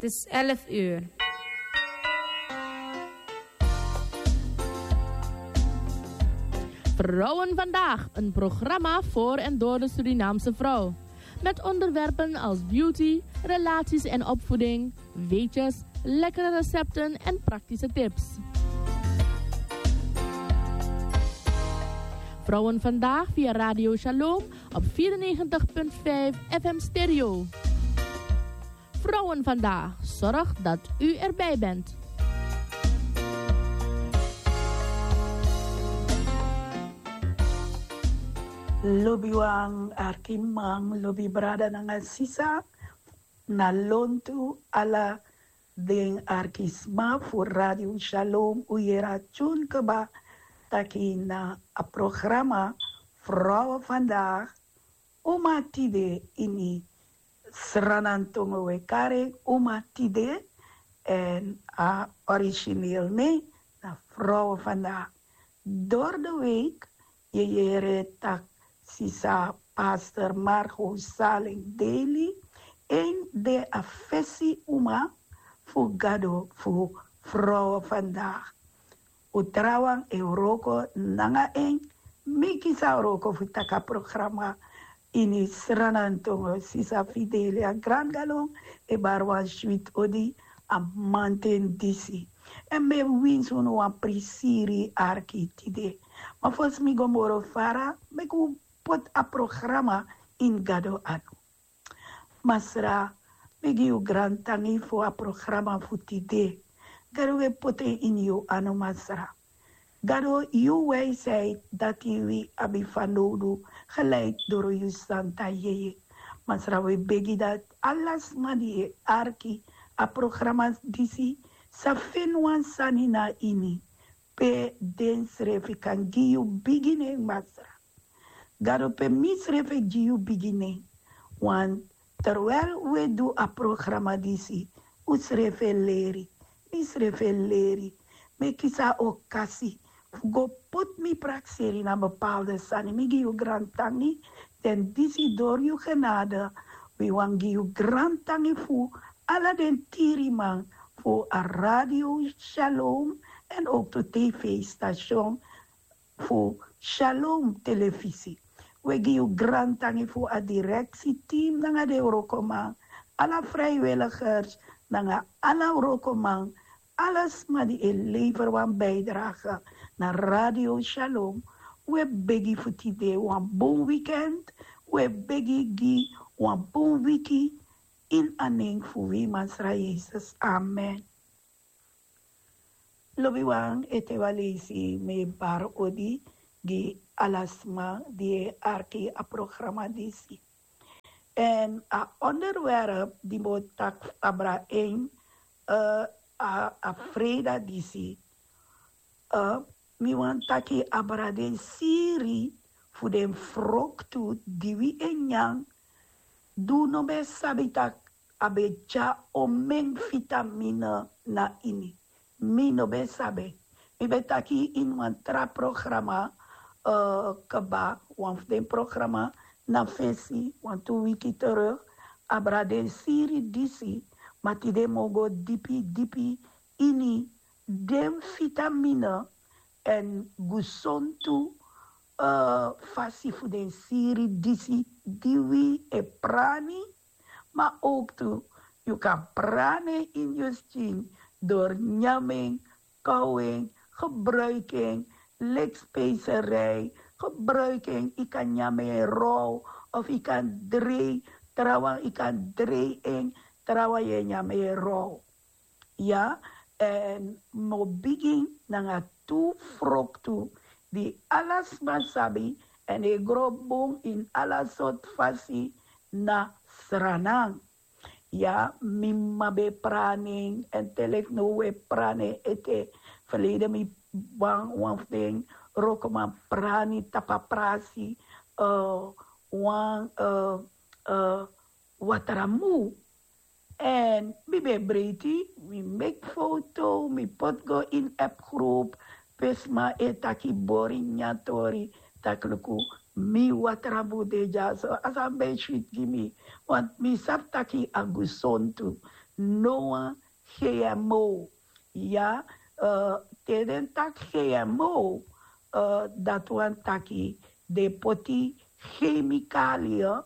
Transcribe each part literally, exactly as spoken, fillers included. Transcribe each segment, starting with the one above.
Het is elf uur. Vrouwen Vandaag, een programma voor en door de Surinaamse vrouw. Met onderwerpen als beauty, relaties en opvoeding, weetjes, lekkere recepten en praktische tips. Vrouwen Vandaag via Radio Shalom op vierennegentig punt vijf F M Stereo. Vrouwen Vandaag, zorg dat u erbij bent. Lobiwan, arkiman, lobi brada nanga sisa, na lontu ala den arki sma fu Radio Shalom, u yere a tune kaba taki na a programa Vrouwen Vandaag, Uma Tide ini Sranantongo we kari Uma Tide, en a origineel nen na Vrouwen Vandaag. Door de week, yu yere taki sisa pastor Margot Salling Daly, en de a fesi uma fu Gado fu Vrouwen Vandaag. U trawan e wroko nanga en, mi kisi a wroko fu taki a programa ini Sranantongo, sisa Fidelia Grangalon e bari wan switi odi a mamanten disi. En mi e winsi unu wan prisiri arki tide. Ma fosi mi go moro fara, meki un poti a programa ini Gado anu. Masra, mi gi yu grantangi fu a programa fu tide. Gado, wi e poti en ini yu anu, Masra. Gado, yu wijsheid dati wi abi fanowdu, gelijk doro yu santa yeye. Masra, wi e begi dati ala sma di e arki a programa disi sa feni wan sani na ini, pe densrefi kan gi yu bigi nen, Masra. Gado, pe misrefi e gi yu bigi nen. Want terwijl wi e du a programa disi, usrefi e leri, misrefi e leri. Mi e kisi a okasi fu go poti mi prakseri na bepaalde sani. Mi gi yu grantangi, den disi doro yu genade. Wi wani gi yu grantangi fu ala den tiriman fu a Radio Shalom en ook tu tv-station fu Shalom Telefisi. Wi e gi yu grantangi fu a direksi team nanga den wrokoman, ala vrijwilligers nanga ala wrokoman, ala sma di e lever wan bijdrage na Radio Shalom. Wi e begi fu tide wan bun weekend, wi e begi gi wan bun wiki ini a nen fu wi Masra Yesus. Amen. Lobiwan, ete wan leisi mi e bari odi gi ala sma di e arki a programa disi. En a onderwerp di mi o taki abra en, eh, a, a freida disi, eh, mi wani taki abra den siri fu den froktu di wi e nyan, di un no ben sabi taki a ben tyari omeni vitamine na ini. Mi no ben sabi. Mi ben taki ini wan tra programa, eh, kaba, wan fu den programa na fesi, wan tu wiki terug, abra den siri disi, ma tide mi o go dipi, dipi ini den vitamine en gesontu, eh, fasi fu den siri disi di wi e prani, ma ook tu yu kan prani en ini yu skin door nyan en, kauw en, gebruik en, leki spijserij, gebruik en, yu kan nyan en rauw, of yu kan drei, trawan yu kan drei en, trawan yu e nyan en rauw. Ya, en mi o bigin nanga tu froktu di ala sma sabi, en e gro bun ini ala sortu fasi na Sranan. Ya, mi mama ben prani en, en te leki now wi e prani en ete. Verleden mi wan, wan fu den wrokoman prani tapu a prasi, eh, wan, eh, eh, watramu. En mi ben breiti, mi meki foto, mi poti go ini appgroep, pe sma e taki bori nyan tori, taki luku, mi watramu de dyaso, a sani ben switi gi mi, want mi sabi taki a gesontu. no wan gmo. Ya, te den taki gmo, dati wani taki den poti chemikalia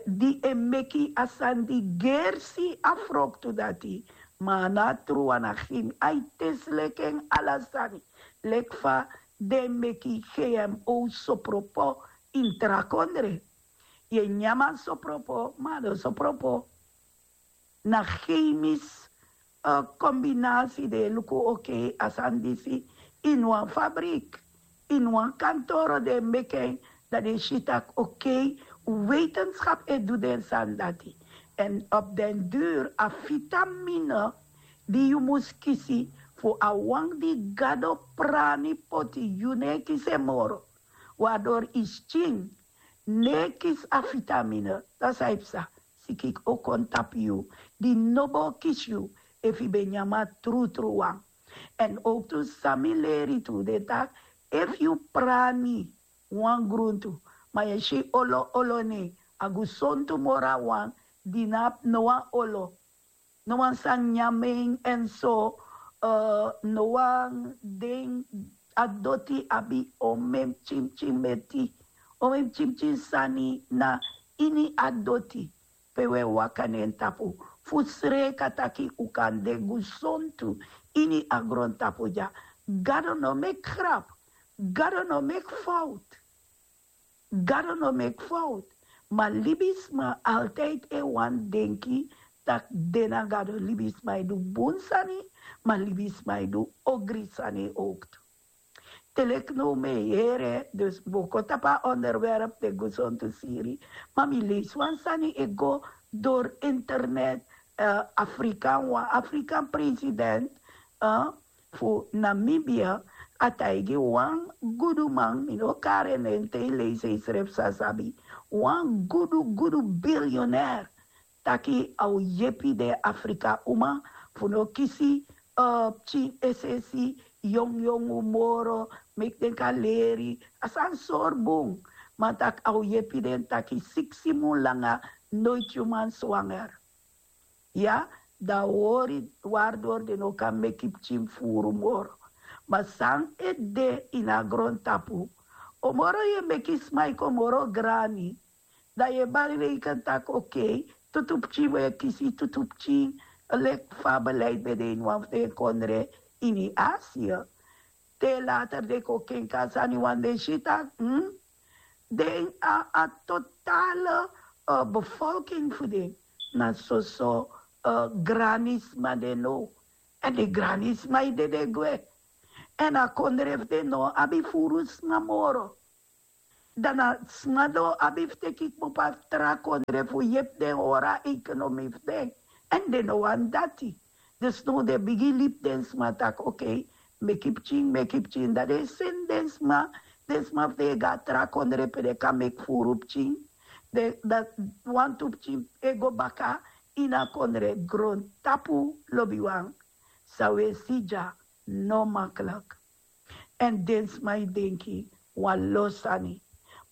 di e meki a sani di gersi a froktu dati. Ma a no a tru wan na gmi a e tesi leki en ala sani. Leki fa den meki gmo sopropo ini tra kondre. Yu e nyan man sopropo ma a no sopropo. Na chemis kombinasi den e luku. Okei, a sani disi ini wan fabrik, ini wan kantoro den e meki en. Dan den si tak' okei, wetenskap e du den sani dati. Èn op den duru a vitamine di yu mus kisi fu a wan di gado prani poti, yu no e kisi en moro. Wardori yu skin no e kisi a vitamine, dan san e psa? Siki o kon tapu yu di no bo kisi yu efu yu ben nyan man trutru wan. Èn owktu san mi leri tu de taki, efu yu prani wan gruntu ma yu e si olo olo ne, a gesontu moro a wan di no abi no wan olo, no wan sani nyan men. Èn so no wan den a doti abi omen pikinpikin meti, omen pikinpikin sani na ini a doti pe un e waka na en tapu. Fu sreka taki un kan de gesontu ini a grontapu dya. Gado no meki grap. Gado no meki fowtu. Gado no meki fowtu. Ma libisma altijdi e wani denki tak' den na gado. Libisma e du bun sani, ma libisma e du ogri sani owktu. Te leki now mi e yere dus mi bo kon tapu a onderwerp den gesontu siri. Ma mi leisi wan sani e go dori internet. Afrikan wan afrikan president fu namibia a taigi wan guduman, mi no kari en nen te yu leisi yu srefi sa sabi, wan gudu gudu bilionair taki a o yepi den afrika uma fu no kisi pikin esesi, yongyongu moro, meki den kan leri a sani sori bun. Ma taki a o yepi den taki siksi mun langa noiti yu man swanger. Ya, dan a hori wari dori den no kan meki pikin furu moro. Ma san e de ini a grontapu, o moro yu e meki sma e kon moro grani. Dan yu e bari reiken taki okei, tutu pikin wi e kisi tutu pikin. Leki fa a beleid ben de ini wan fu den kondre ini asia. Te later den kon kenki a sani wan den si taki den a totale bevolking fu den na soso granisma den now. Èn den granisma e dede gwe. Èn a kondre fu den no abi furu sma moro. Dan na sma no abi fu teki kmopo na tra kondre fu yepi den hori a ekonomi fu den. Èn den no wani dati. Dus now den bigin libi den sma taki okei, meki pikin meki pikin dan den e seni den sma. Den sma fu den e go na tra kondre pe den kan meki furu pikin. Dati wantu pikin e go baka ini a kondre grontapu. Lobiwan, san wi e si dya no makliki. Èn den sma e denki wan lo sani.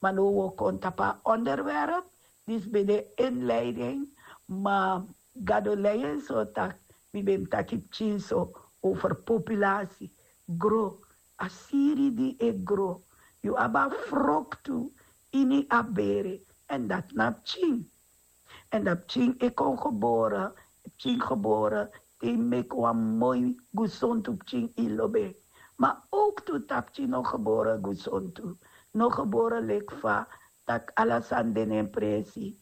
Ma now wi o kon tapu a onderwerp disi ben de inleiding. Ma gado lei en so taki mi ben mus taki pikin so over populasi gro. A siri di e gro, yu abi a froktu ini a bere. Èn dati na pikin. Èn dan pikin e kon gebore. Pikin gebore te yu meki wan moi gesontu pikin yu lobi en. Ma owktu tapu pikin no gebore gesontu, no gebore leki fa taki ala sani de na en presi.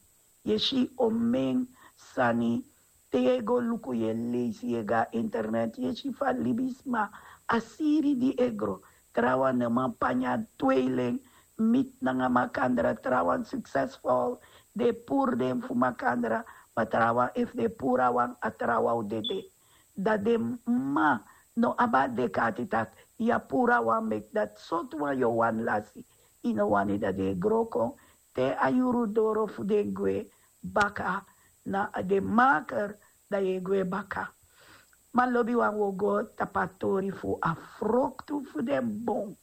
Yu e si omen sani. Te yu e go luku yu e leisi yu e go na internet yu e si fa libisma a siri di e gro. Trawan no man panya tweilen miti nanga makandra trawan suksesful. Den e puru den fu makandra. Ma trawan efu den e puru a wan a trawan o dede. Dan den mama no abi a dek'ati tak' yu a puru a wan meki dati sortu wan yu o wani lasi. Yu no wani dan den e gro kon te a yuru doro fu den gwe baka na den maker. Dan yu e gwe baka. Ma lobiwan wi o go tapu a tori fu a froktu fu den bon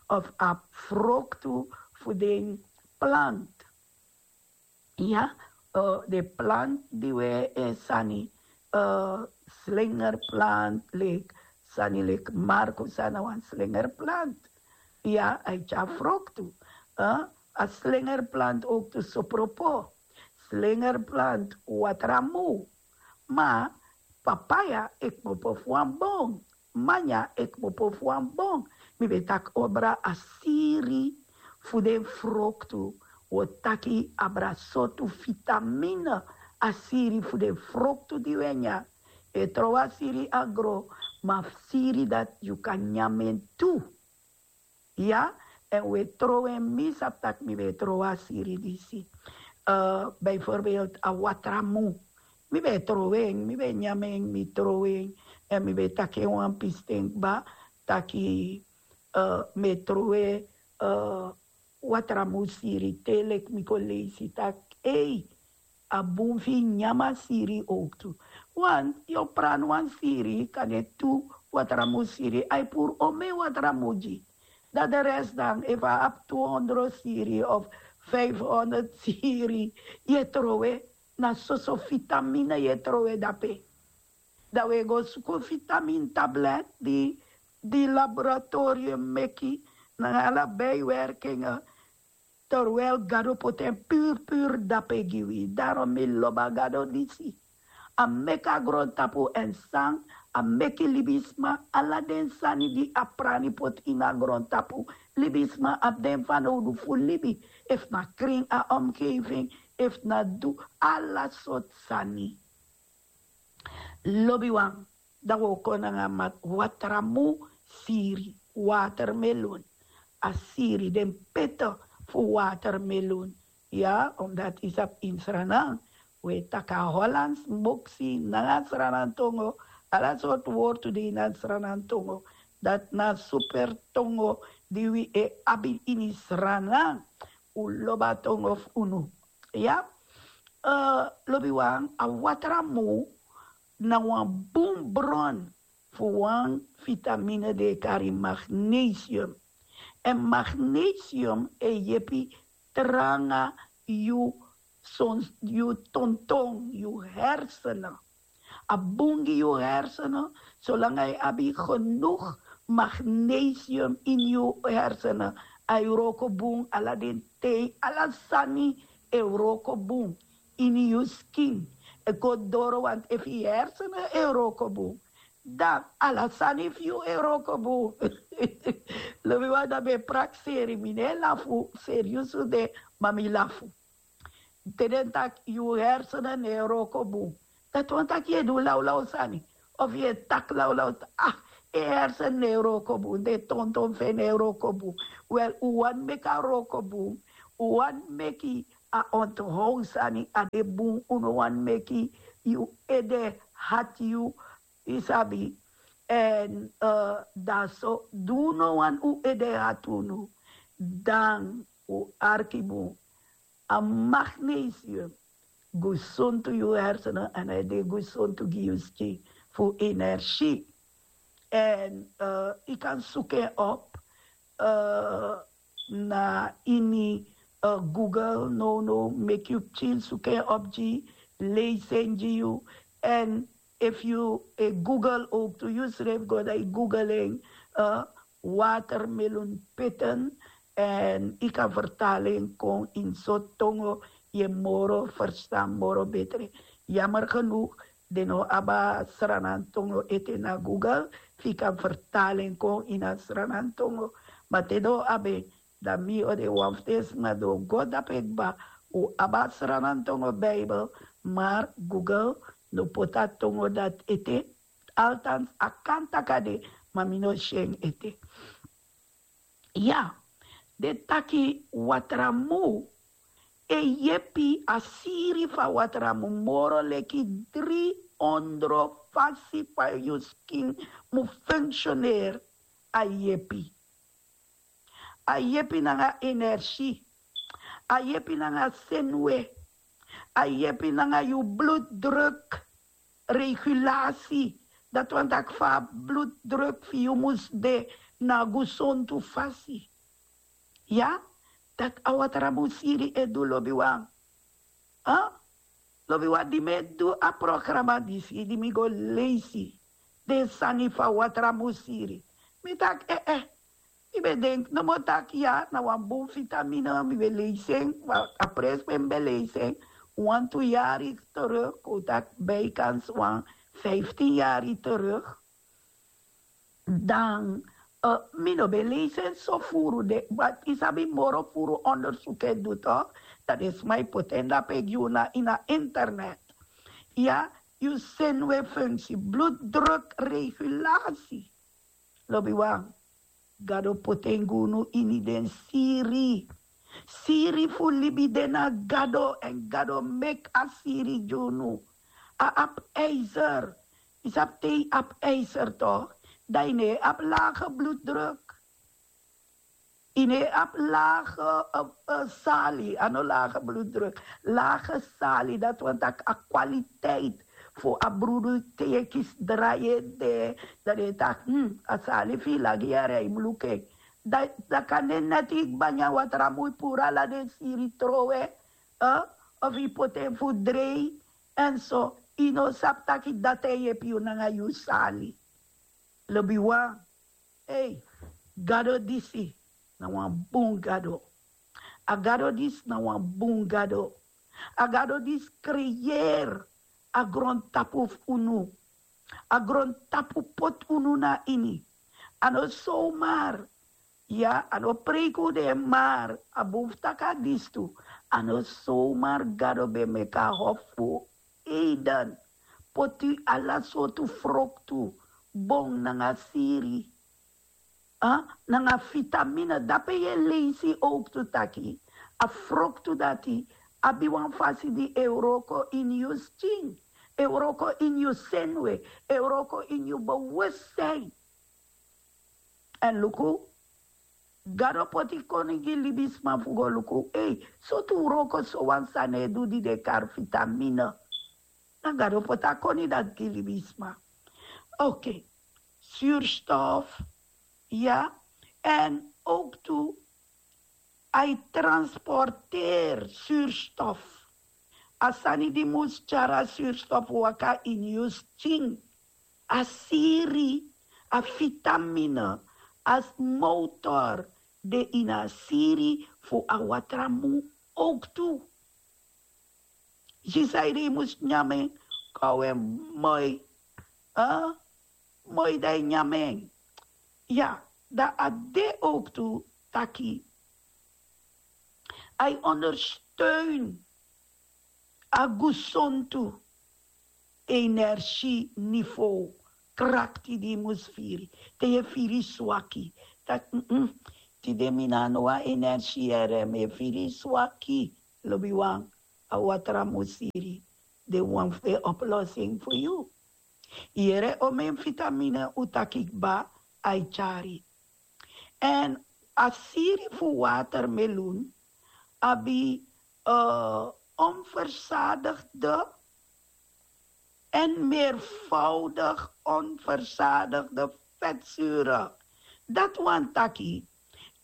of a froktu fu den plant. Ya, den plant di wi e sani slingerplant leki sani leki marku san na wan slingerplant. Ya, a e tyari froktu. A slingerplant oktu sopropo, slingerplant watramu. Ma papaya e kmopo fu wan bon, manya e kmopo fu wan bon. Mi ben taki obra a siri fu den froktu. Wo taki abra sortu fitamine a siri fu den froktu di we nyan. E trowe a siri agro, ma siri dati yu kan nyamen tu. Ya, en we trowe mi sabi taki mi ben trowe a siri disi. Bijvoorbeeld a watramu, mi ben trowe en, mi ben nyamen, mi trowe en. En mi ben taki en wan pisten kba taki mi e trowe watramu siri te leki mi kon leisi taki ei, a bun fu yu nyan a siri oktu. Want yu o prani wan siri kande tu watramu siri a e puru omen watramu gi. Dan de rest dan efu a abi tu hondro siri of fif hondro siri, yu e trowe. Na soso fitamine yu e trowe dape. Dan we go suku fitamine tablet di di laboratorium meki nanga ala bijwerkingen. Terwijl gado poti en puru puru dape gi wi. Darom mi lobi a gado disi. A meki a grontapu en san a meki libisma. Ala den sani di a prani poti ini a grontapu, libisma abi den fanowdu fu libi. Efu na krin a omgeving, efu na du ala sortu sani. Lobiwan, dan wi o kon nanga mati watramu siri, watermelon. A siri den pete fu watermelon. Ya, omdat yu sabi ini Sranan wi e taki a Hollands boksi nanga Sranan tongo. Ala sortu wortu de ini a Sranan tongo. Dati na a super tongo di wi e abi ini Sranan. Un lobi a tongo fu unu. Ya, lobiwan, a watramu na wan bun bron fu wan fitamine di e kari magnesium. Èn magnesium e yepi tranga yu sons yu tonton yu hersenen. A bun gi yu hersenen solanga yu abi genug magnesium ini yu hersenen. A e wroko bun ala den tei ala sani e wroko bun ini yu skin. E kon doro want efu yu hersenen e wroko bun, dan ala sani fu yu e wroko bun. Lobi wan dan ben prakseri mi no e lafu. Seriusu de, ma mi lafu. Te den taki yu hersenen no e wroko bun, dati wani taki yu e du lawlaw sani. Of yu e taki lawlaw taki ah, en hersen no e wroko bun, den tonton fu en no e wroko bun. Wel, un wani meki a wroko bun. Un wani meki a onthow sani a de bun. Un no wani meki yu ede hati yu. Yu sabi. Èn dan so di un no wani un ede hati unu, dan un arki bun. A magnesium gesontu yu hersenen èn a e de gesontu gi yu skin fu energie. Èn yu kan suku en op na ini google. Nownow meki yu pikin suku en op gi, leisi en gi yu. Èn efu yu e google owktu yu srefi go dan yu google en, watermelon pitten. Èn yu kan fertali en kon ini sortu tongo yu e moro ferstan moro betre. Yamer genug den no abi a sranantongo ete na google fu yu kan fertali en kon ini a sranantongo. Ma te den o abi en, dan mi o de wan fu den sma di o go dape kba. Un abi a sranantongo bibel, mar google no poti a tongo dati ete. Altans a kan taki a de, ma mi no si en ete. Ya, den taki watramu e yepi. A siri fu a watramu moro leki dri ondro fasi fa yu skin mu funksioneri. A yepi. A yepi nanga energie. A yepi nanga senwe. A yepi nanga yu bloeddruk. Regulasi. Dati wani taki fa a bloeddruk fu yu mus de na a gesontu fasi. Ya, dati a watramu siri e du lobiwan. Lobi wan di mi e du a programa disi di mi go leisi den sani fu a watra musiri. Mi taki eh eh. Mi ben denki nomo taki ya na wan bun vitamine, mi ben leisi en. A pres pe mi ben leisi en wantu yari teruk, kon taki bijkans wan vijftin yari teruk. Dan mi no ben leisi en so furu de, but yu sabi moro furu ondersuku e du tok. Dan den sma e poti en dape gi unu na ini a internet. Ya, yu senuwe funksi, bloeddrukregulatie. Lobiwan, Gado poti en gi unu ini den siri. Siri fu libi de na Gado, èn Gado meki a siri gi unu. A abi ijzer. Yu sabi te yu abi ijzer tok, dan yu no e abi lage bloeddruk. Yu no e abi lage sali, a no lage bloeddruk, lage sali. Dati wani taki a kwaliteit fu a brudu te yu e kisi drai ede, dan den e taki a sali fu yu lagi yari, a yu mus luku en. Dan kan de neti yu kba nyan watra mu yu puru ala den siri trowe, of yu poti en fu drei. Èn so yu no sabi taki dati e yepi yu nanga yu sali. Lobiwan, ei, Gado disi na wan bun Gado. A Gado disi na wan bun Gado. A Gado disi kreyeri a grontapu fu unu. A grontapu poti unu na ini. A no somar. Ya, a no preiki un de, mar a bun fu taki a disi tu. A no somar Gado ben meki a hofu fu Eden, poti ala sortu froktu, bon nanga siri, nanga vitamine. Dape yu e leisi owktu taki a froktu dati abi wan fasi di e wroko ini yu skin, e wroko ini yu senuwe, e wroko ini yu bewustin. Èn luku, Gado poti koni gi libisma fu go luku, ei, sortu wroko so wan sani e du di den kari vitamine. Na Gado poti a koni dati gi libisma. Okei. Surstof, ya. Èn owktu a e transporteri surstof. A sani di mus tyari a surstof waka ini yu skin. A siri, a vitamine, a motor de ini a siri fu a watra mu owktu. Si san yu de, yu mus nyan en, kon a wi en moi. Moi dan yu nyan en. Ya, dan a de owktu taki a e ondersteun a gesontu energiniveau, krakti di yu mus firi. Te yu e firi swaki, taki tide mi no abi no wan energie yere, mi e firi swaki. Lobiwan, a watra mu siri de wan fu den oplossing fu yu. Yere omen vitamine un taki kba a e tyari. Èn a siri fu watermeloen abi onverzadigde en meervoudig onverzadigde vetzure. Dati wani taki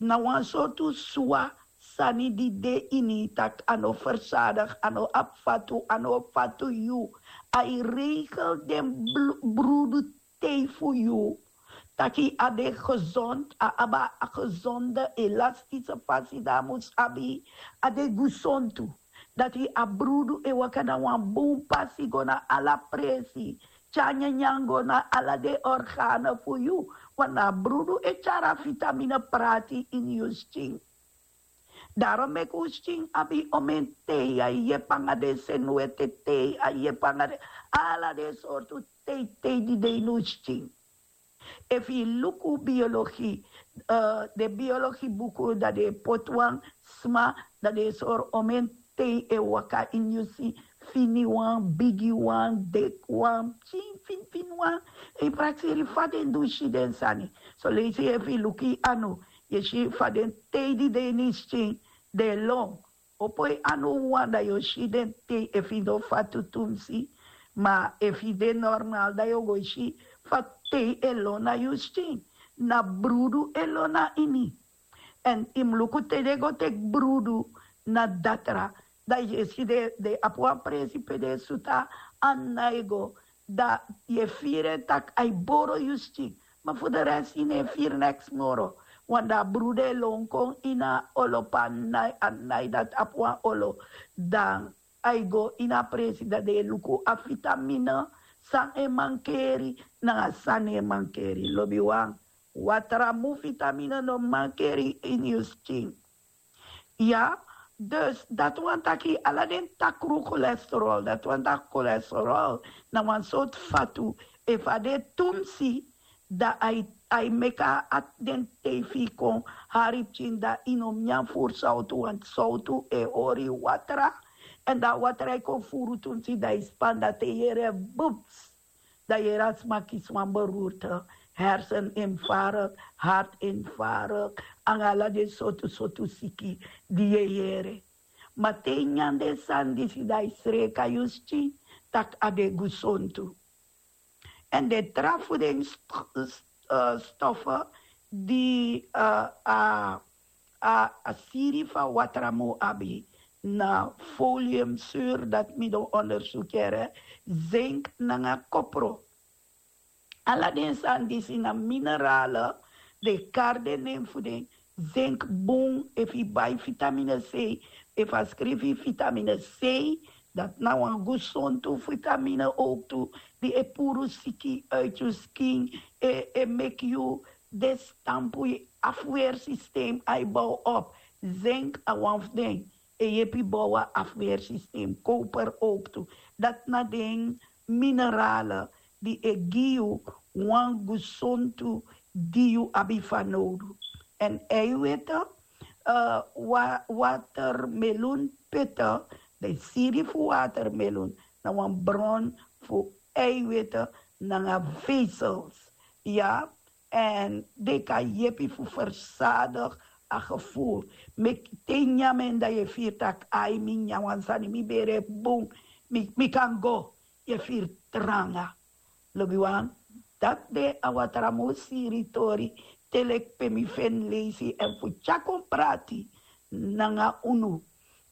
na wan sortu swa sani di de ini, tak' a no verzadig, a no abi fatu, a no fatu yu. A e regel den brudu tei fu yu, taki a de gezond, a abi a gezonde elastise fasi di a mus abi. A de gesontu, dati a brudu e waka na wan bun pasi go na ala presi, tyari nyanyan go na ala den organe fu yu. Wan na a brudu e tyari a vitamine prati ini yu skin. Darom meki un skin abi omen tei, a yepi nanga den senuweti tei, a yepi nanga den ala den sortu tei tei di de ini un skin. Efu yu luku biologi, den biologi buku, dan den e poti wan sma, dan den e sori omen tei e waka ini yu skin. Fini wan, bigi wan, deki wan, pikin fini fini wan. Yu prakseri fa den du si den sani. Soleisi efu yu luku yu anu, yu e si fa den tei di de ini yu skin den e lon. Opo yu anu wan, dan yu o si den tei, efu yu no fatu tumsi. Ma efu yu de normal, dan yu o go si fa tei e lon na yu skin. Na brudu e lon na ini. Èn yu mus luku te den go teki brudu na datra, Dan yu e si den abi wan presi pe den e sutu a annai go. Dan yu e firi en tak' a e boro yu skin. Ma fu de rest yu no e firi neks moro. Wan dan a brudu e lon kon ini a olo pe a annai dati abi wan olo. Dan a e go ini a presi dan den e luku a fitamine, san e mankeri nanga san no e mankeri. Lobiwan, watramu fitamine no mankeri ini yu skin. Ya. Dus dati wani taki ala den takru kolesterol, dati wani taki kolesterol na wan sortu fatu. Efu a de tumsi, dan a e meki a den tei fu yu kon hari pikin, dan yu no mus nyan furu sowtu, want sowtu e hori yu watra. Èn dan a watra e kon furu tumsi, dan yu span, dan te yu yere bubs, dan yu yere a sma kisi wan beroerte, herseninfarkt, hartinfarkt, nanga ala den sortu sortu siki di yu e yere. Ma te yu nyan den sani disi, dan yu sreka yu skin tak' a de gusontu. Èn den tra fu den stofe di a siri fu a watramu abi, na folium sur, dati mi don ondersuku yere, zink nanga kopro. Ala den sani disi na minerale. Den e kari den nen fu den. Zink bun efu yu bai fitamine c. Efu a skrifi yu fitamine c, dati na wan gusontu fitamine owktu, di e puru siki uiti yu skin, e meki yu de stampu, yu afweersysteem a e bow op. Zink a wan fu den e yepi bow a afweersysteem. Koper owktu. Dati na den minerale di e gi yu wan gusontu di yu abi fanowdu. Èn eiwete, watermelonpete, den siri fu watermelon na wan bron fu eiwete nanga vezels. Ya. Èn den kan yepi fu versadigi a gevoel. Meki te yu nyan en dan yu e firi tak' ai, mi nyan wan sani, mi bere bun, mi kan go. Yu e firi tranga. Lobiwan, dati de a watramu siri tori, te leki pe mi feni leisi èn fu tyari kon prati nanga unu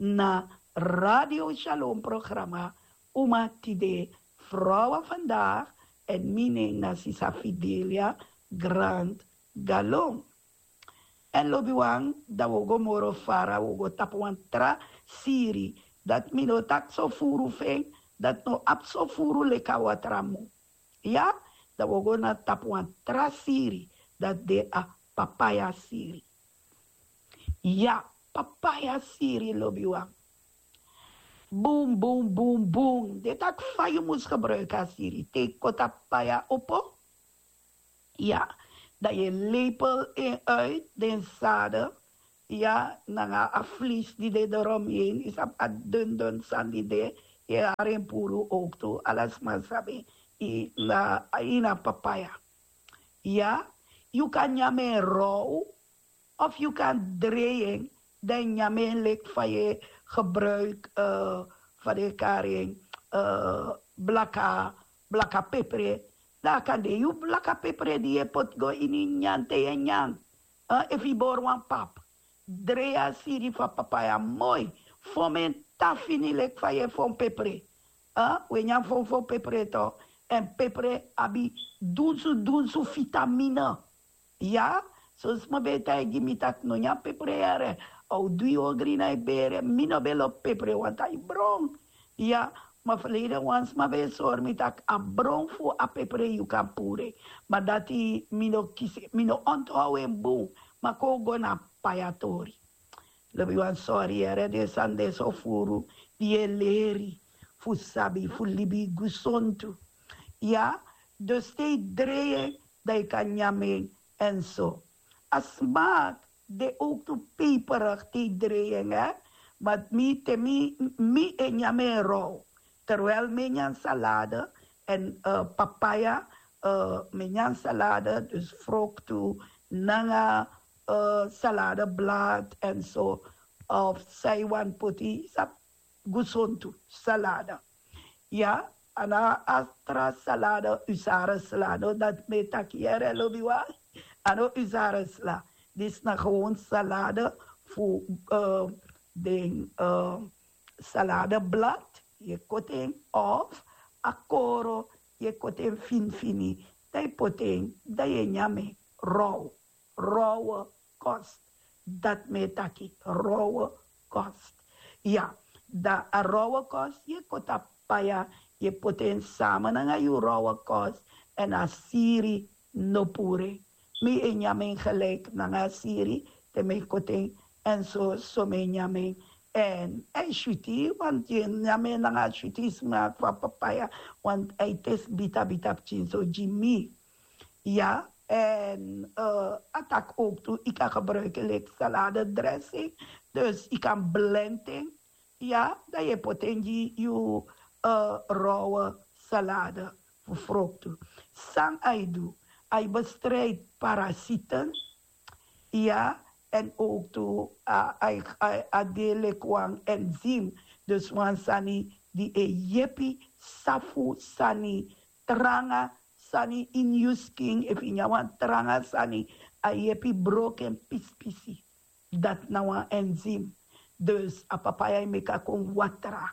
na Radio Shalom programa, Uma Tide, Vrouwen Vandaag, èn mi nen na sisa Fidelia Grant Galon. Èn lobiwan, dan wi o go moro fara, wi o go tapu wan tra siri, dati mi no taki so furu fu en, dati no abi so furu leki a watramu. Ya. Dan wi o go na tapu wan tra siri, dati de a papaya siri. Ya, papaya siri, lobiwan. Bun bun bun bun, den taki fa yu mus gebruiki a siri. Te yu koti a papaya opo, ya, dan yu e lepel en uit den sade, ya, nanga a flis di de dorom yu en, yu sabi, a dundun sani di de, yu e hari en puru owktu, ala sma sabi, na ini a papaya. Ya, yu kan nyan en row, of yu kan drei en, dan yu nyan en leki fa yu e gebruiki, fa den e kari en, blaka blaka pepre. Dan a kan de yu blaka pepre di yu e poti go ini nyan te yu e nyan. Efu yu bori wan pap, drei a siri fu a papaya moi, fon en tan fini leki fa yu e fon pepre. Wi e nyan fon fon pepre to. Èn pepre abi dunsu dunsu fitamine. Ya. Son sma ben e taigi mi tak' no nyan pepre yere, a o du yu ogri na yu bere. Mi no ben lobi pepre, want a e bron. Ya. Ma ferleiden wan sma ben e sori mi tak' a bron fu a pepre yu kan puru en. Ma dati mi no kisi, mi no onthou en bun. Ma kon wi go na a papaya tori. Lobiwan, sori yere den sani de so furu, di yu e leri fu sabi fu libi gusontu. Ya. Dus te yu drei en, dan yu kan nyan en, èn so. A smaak de owktu peperigi te yu drei en, hè. Ma mi, te mi, mi e nyan en row. Terwijl mi e nyan salade èn papaya, mi e nyan salade, dus froktu nanga saladeblad èn so. Of san yu wani poti, sabi, gusontu salade. Ya. A no a tra salade, usare sla, no, dati mi e taki yere, lobiwan. A no usare sla. Disi na gewoon salade fu den saladeblad, yu e koti en, of a koro, yu e koti en finifini, dan yu poti en, dan yu e nyan en. Row, rowe kost. Dati mi e taki, rowe kost. Ya, dan a rowe kost, yu e koti a papaya, yu e poti en sama nanga yu rowe kost, èn a siri no puru en. Mi e nyan en gelijk nanga a siri, te mi e koti en, èn so, so mi e nyan en. Èn a e switi, want yu e nyan en nanga a switi smak fu a papaya, want a e tesi bita bita pikinso gi mi. Ya, èn, eh, a taki ook tu, yu kan gebruik en leki salade dressing. Dus yu kan blend en. Ya, dan yu e poti en gi yu, eh, rowe salade fu froktu. San a e du, a e bestrijd parasieten. Ya, èn ook tu, a, a, a, a de leki wan enzim. Dus wan sani di e yepi safu sani tranga, sani ini yu skin, efu yu nyan wan tranga sani, a yepi broko en pisi pisi. Dati na wan enzim. Dus a papaya e meki a kon watra.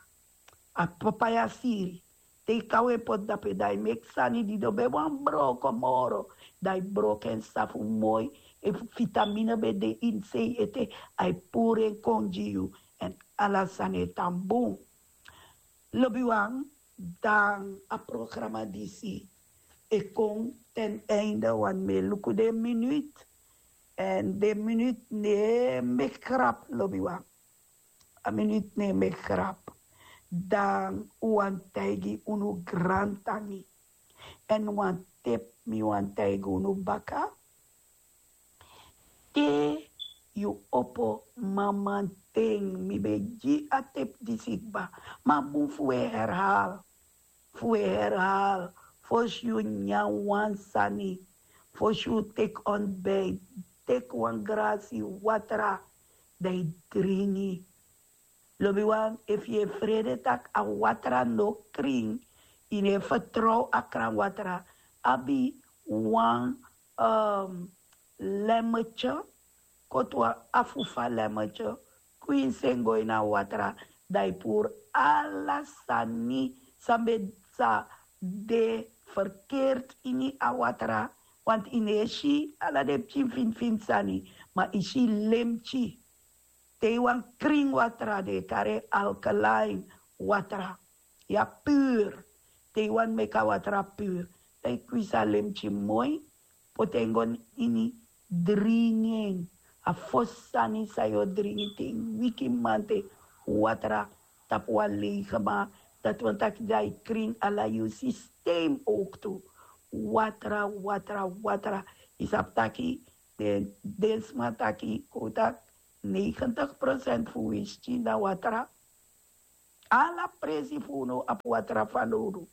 A papaya siri. Te yu kaw en poti dape, dan a e meki sani di no ben wani broko moro, dan a e broko en safu moi. Efu vitamine ben de ini sei ete, a e puru en kon gi yu. Èn ala sani e tan bun. Lobiwan, dan a programa disi e kon ten einde, want mi e luku den minut. Èn den minut no e meki grap, lobiwan. A minut no e meki grap. Dan un wani taigi unu grantangi. Èn wan tep mi wani taigi unu baka. Te yu opo mamanten, mi ben gi a tep disi kba. Ma bun fu un e herhaal. Fu un e herhaal. Fosi yu nyan wan sani, fosi yu teki ontbijt, teki wan grasi watra, dan yu dringi. Lobiwan, efu yu e frede tak' a watra no krin, yu no e fertrow a kran watra, abi wan, um, lemmetye, koti wan afu fu a lemmetye, kwinsi en go ini a watra, dan yu puru ala sani san ben sa de ferkeerd ini a watra, want yu no e si ala den pikin finfin sani, ma yu si lemtyi. Te yu wani krin watra, den e kari en alkaline watra. Ya, pur. Te yu wani meki a watra pur, dan yu kwinsi a lemtyi moi, poti en go ini, dringi en. A fosi sani san yu o dringi te yu wiki mamanten, watra tapu wan leigi man. Dati wani taki dan yu krin ala yu systeem ook tu. Watra, watra, watra. Yu sabi taki den, den sma taki, kon taki, negentig procent fu wi skin na watra. Ala presi fu unu abi watra fanowdu.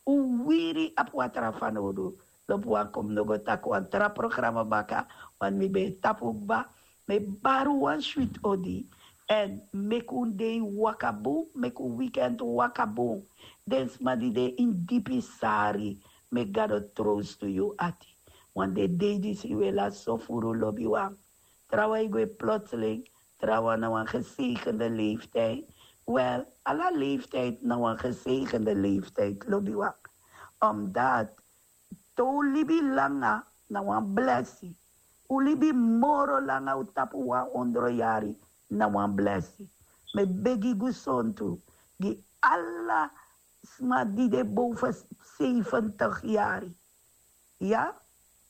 Un wiri abi watra fanowdu. Lobi wan kon mi no go taki wan tra programa baka, want mi ben e tapu kba. Mi e bari un wan switi odi. Èn meki un dei waka bun, meki un weekend waka bun. Den sma di de ini dipi sari, meki Gado trowstu yu ati. Want den dei disi wi e lasi so furu, lobiwan. Trawan e gwe plotseling, trawan na wan gezegende leeftijd. Wel, ala leeftijd na wan gezegende leeftijd, lobiwan. Omdat te un libi langa na wan blesi. Un libi moro langa, un tapu wan ondro yari, na wan blesi. Mi e begi gesondheid gi ala sma di de boven zeventig yari. Ya,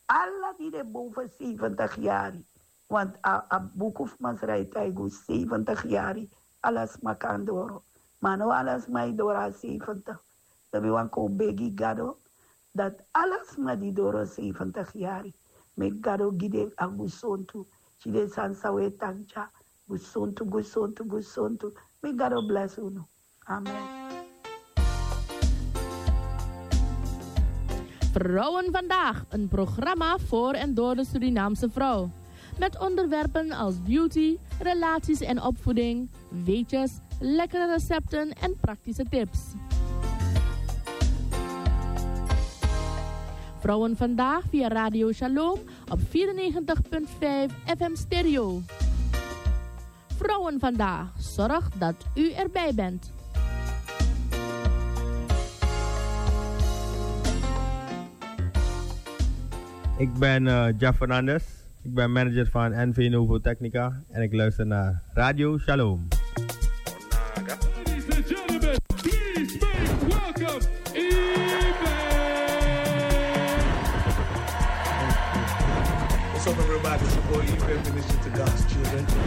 ala di de boven zeventig yari. Want a, a buku fu Masra e taigi un zeventig yari, ala sma kan doro. Ma no ala sma e doro a zeventig. Dan mi wani kon begi Gado, dati ala sma di doro zeventig yari, meki Gado gi den a gesondheid. Si den sani san wi e taki dya, gesondheid, gesondheid, gesondheid. Meki Gado blesi unu. Amen. Vrouwen Vandaag, een programma voor en door de Surinaamse vrouw. Met onderwerpen als beauty, relaties en opvoeding, weetjes, lekkere recepten en praktische tips. Vrouwen Vandaag via Radio Shalom op vierennegentig punt vijf F M Stereo. Vrouwen Vandaag zorgt dat u erbij bent. Ik ben eh, Jeff Fernandes. Ik ben manager van N V Novo Technica en ik luister naar Radio Shalom. Ladies and gentlemen, please make welcome Ibe. What's up, everybody? It's your boy Ibe, Minister to God's Children.